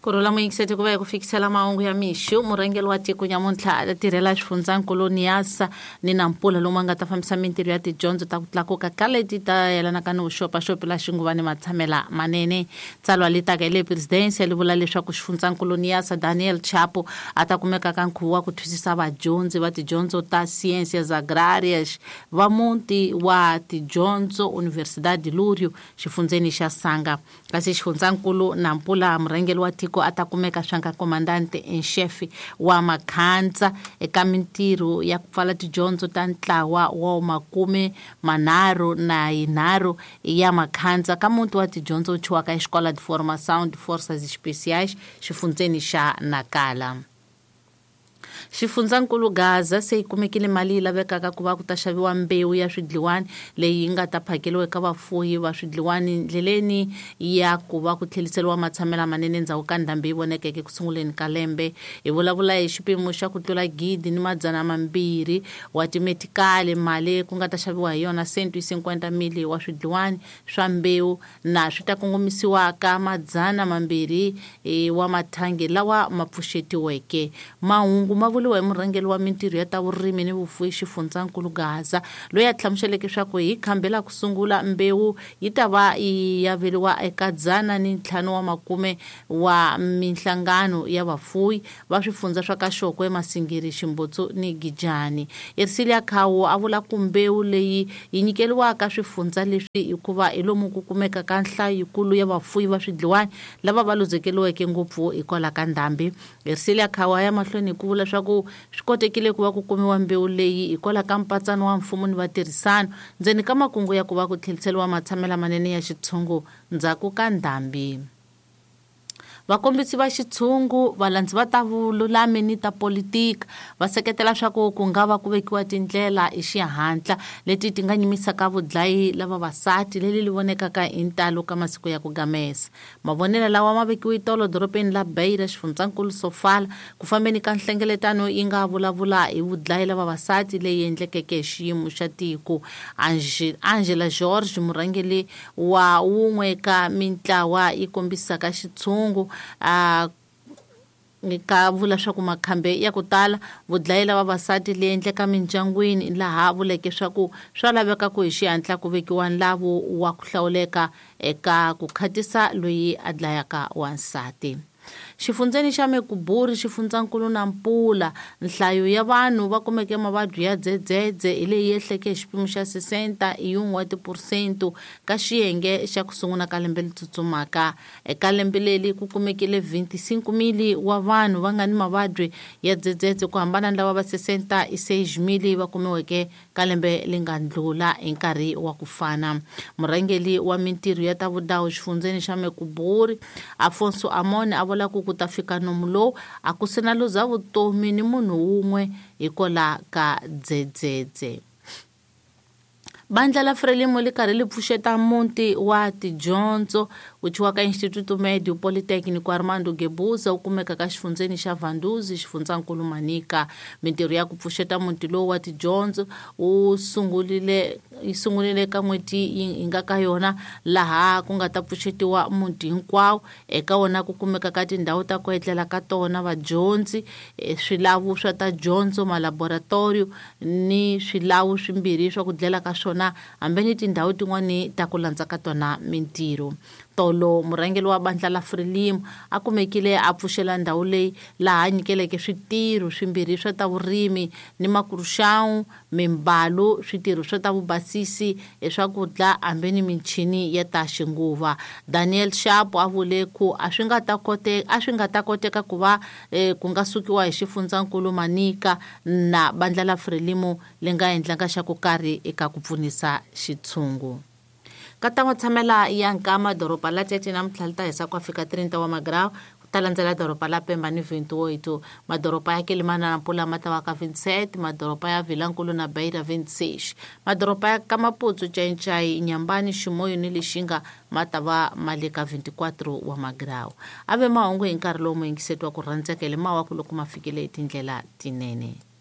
Ku rhula muyingiseti ku va hi ku fikisela mahungu ya mixo. Murhangeri wa tiko nyamuntlha a tirhela xifundzankulu Niassa ni Nampula lomu a nga ta fambisa mintirho ya tidyondzo ta ku tlakuka ka leti ta yelanaka ni vuxopaxopi la xinguva ni matshamela manene. Tsalwa li taka hi le Presidensia li vula leswaku xifundzankulu Niassa Daniel Chapo a ta kumeka ka nkhuvo wa ku twisisa vadyondzi va tidyondzo ta Ciências Agrárias va muti wa tidyondzo Universidade Lúrio xifundzeni xa Sanga. Kasi xifundzankulu Nampula murhangeri wa tiko a ta kumeka swa nga comandante en chef wa Makhantsa eka mintirho ya ku pfala tidyondzo ta ntlawa wa 33 ya Makhantsa ka muti wa tidyondzo wu thyiwaka Escola de Formação de Forças Especiais xifundzeni xa Nacala. Xifundzankulu Gaza se yi kumekile mali yi lavekaka ku va ku ta xaviwa mbewu ya swidliwani leyi yi nga ta phakeriwa eka vafuwi va swidliwani ndleleni ya ku va ku tlheliseriwa matshamelo lamanene endzhaku ka ndhambi yi vonekeke ku sunguleni ka lembe. Hi vulavula hi xipimo xa ku tlula 1200 wa timetikali, mali ku nga ta xaviwa hi yona 150 mili wa swidliwani swa mbewu na swi ta kongomisiwa ka 200 wa mathangi lawa ma pfuxetiweke. Mahungu ma vuriwa hi murhangeri wa mintirho ya ta vurimi ni vufuwi xifundzankulu Gaza, loyi a hlamuseleke leswaku hi khambi la ku sungula mbewu yi ta va yi averiwa eka 150 wa minhlangano ya vafuwi va swifundza swa ka Xokwe, Masingiri, Ximbutsu ni Gijani. Ersilia Khawu a vula ku mbewu leyi yi nyikeriwaka swifundza leswi hikuva hi lomu ku kumeka ka nhlayo yikulu ya vafuwi va swidliwani lava va luzekeriweke ngopfu hikwalaho ka ndhambi. Ersilia Khawu a ya mahlweni hi ku vula leswaku swi kotekile ku va ku kumiwa mbewu leyi hikwalaho ka mpatsano wa mfumo ni vatirhisano ndzeni ka makungu ya ku va ku tlheriseriwa matshamelo lamanene ya xitshungu ndzhaku ka ndhambi. Vakombisi va xitshungu, valandzi va ta vululami ni ta politika va seketela swa ku ku nga va ku vekiwa tindlela hi xihatla leti ti nga nyimisaka vudlayi la vavasati leli li vonekaka hi ntalo ka masiku ya ku gamesa. Mavonelo lawa ma vekiwe tolo dorobeni la Beira, xifundzankulu Sofala, ku fambeni ka nhlengeletano yi nga vulavula hi vudlayi la vavasati leyi endlekeke hi xiyimo xa tiko. Angela George, murhangeri wa wun'we ka mintlawa yi kombisaka xitshungu, a ka vula swa ku makhambe ya ku tala vudlayi la vavasati leyi endleka mindyangwini, laha vuleke swa ku swa laveka ku hi xihatla ku vekiwa nlavu wa ku hlawuleka eka ku khatisa loyi a dlayaka wansati. Xifundzeni xa Mekuburi, xifundzankulu Nampula, nhlayo ya vanhu va kumeke mavabyi ya dzedzedze hi leyi yehleke hi xipimo xa 61 wa tiphurosento ka xiyenge xa ku sungula ka lembe leri tsutsumaka. Eka lembe leri ku kumekile 25 mili wa vanhu va nga ni mavabyi ya dzedzedze ku hambana ni lava va 66 mili va kumiweke ka lembe leri nga ndlula hi nkarhi wa ku fana. Murhangeri wa mintirho ya ta vudawu xifundzeni xa Mekuburi, Afonso Amon, a vula ku ku ta fika nomu lowu a ku se na luza vutomi ni munhu wun'we hikwalaho ka dzedzedze. Bandla la Frelimo li karhi li pfuxeta muti wa tidyondzo wu thyiwaka Instituto Médio Politécnico Armando Guebuza wu kumeka ka xifundzeni xa Vanduzi, xifundzankulu Manica. Mintirho ya ku pfuxeta muti lowu wa tidyondzo wu sungurile yi sungurile ka n'hweti yi nga ka yona, laha ku nga ta pfuxetiwa muti hinkwawo. Eka wona ku kumeka ka tindhawu ta ku etlela ka tona vadyondzi, swilavu swa ta dyondzo, malaboratorio ni swilawu swimbirhi swa ku dlela ka swona, hambi ni tindhawu tin'wani ta ku landza ka tona mintirho. Tolo murhangeri wa bandla la Frelimo a kumekile a pfuxela ndhawu leyi, laha a nyikeleke switirho swimbirhi swa ta vurimi ni makuruxawu, mimbalu, switirho swa ta vubasisi, swakudya hambi ni michini ya ta xinguva. Daniel Chapo a vule ku a swi nga ta koteka, a swi nga ta koteka ku va ku nga sukiwa hi xifundzankulu Manica na bandla la Frelimo li nga endlanga xa ku karhi eka ku pfunisa xitshungu. Ka ta matshamela ya Nkama, doroba la Tete namuntlha li ta hisa ku fika 30 wa magrawu, ku ta landzela doroba la Pemba ni 28. Madoroba ya Quelimana na Nampula ma ta va ka 27, madoroba ya Vilankulu na Beira 26. Madoroba ya ka Maputo, Xai-Xai, Inhambane, Chimoio ni Lixinga ma ta va ma le ka 24 wa magrawu. A ve mahungu hi nkarhi lowu muyingiseti wa ku rhandzeka hi le mawaku loko ma fikile hi tindlela tinene.